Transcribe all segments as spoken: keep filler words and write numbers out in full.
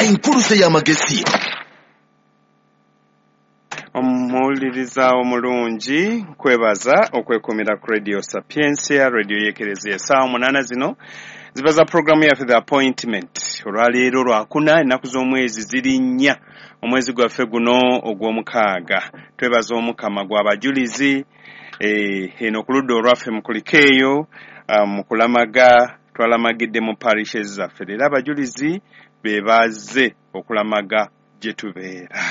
Enkuluze y'amagezi. Omuwuliriza omulungi, nkwebaza okwekumira ku Radio Sapientia, radio y'Ekereziya. Essaawa munaana zino ziba za puroguramu yaffe The Appointment. Olwaleero lwakuna, ennaku z'omwezi ziri nnya, omwezi gwaffe guno ogw'omukaaga. Twebaza Omukama gw'abajulizi eno ku ludda olwaffe mukulikeeyo mu kulamaga. Twalamagidde mu parishes zaffe, leero abajulizi be bazze okulamaga gye tubeera.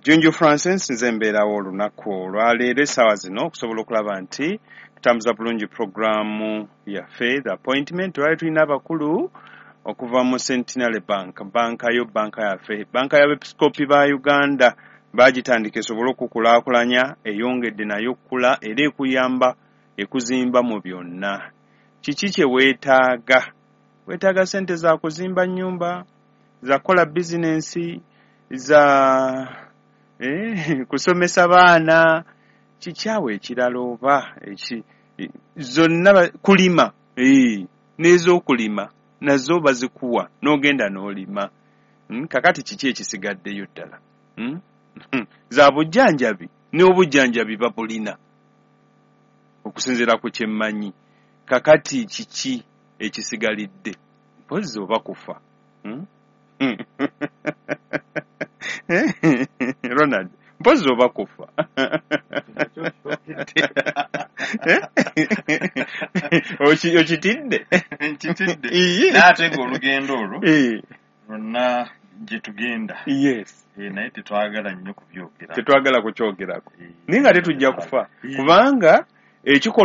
Junju Francis nze mbeerawo olunaku olwaleero essaawa zino okusobola okulaba nti tutambuza bulungi puroguramu yaffe The Appointment. Twali tulina abakulu okuva mu Centenary Bank, banka yo, banka yaffe, banka y'abepiskopi ba Uganda. Bagitandika esobole okukulaakulanya, eyongedde nayo okukula era ekuyamba, ekuzimba mu byonna. Kiki kye weetaaga? Weetaaga ssente za kuzimba nnyumba, za kukola bizinensi, za eh, kusomesa baana, kikyawe ekirala oba eki zonna, kulima, eh, n'ez'okulima nazo bazikuwa n'ogenda n'olima. Hmm, kakati kiki ekisigaddeyo ddala? Hmm? Za bujjanjabi, n'obujjanjabi babulina okusinziira ku kye mmanyi. Kakati kiki ekisigalidde? Mpozzi oba kufa. Hmm? Ronald, mpozzi oba kufa. Okitidde? Nkitidde. Naye ate ng'olugendo olwo lwonna gye tugenda. Yes. Naye tetwagala nnyo kubyogera. Tetwagala kukyogerako. Naye nga tetujja kufa. Kubanga ekikolwa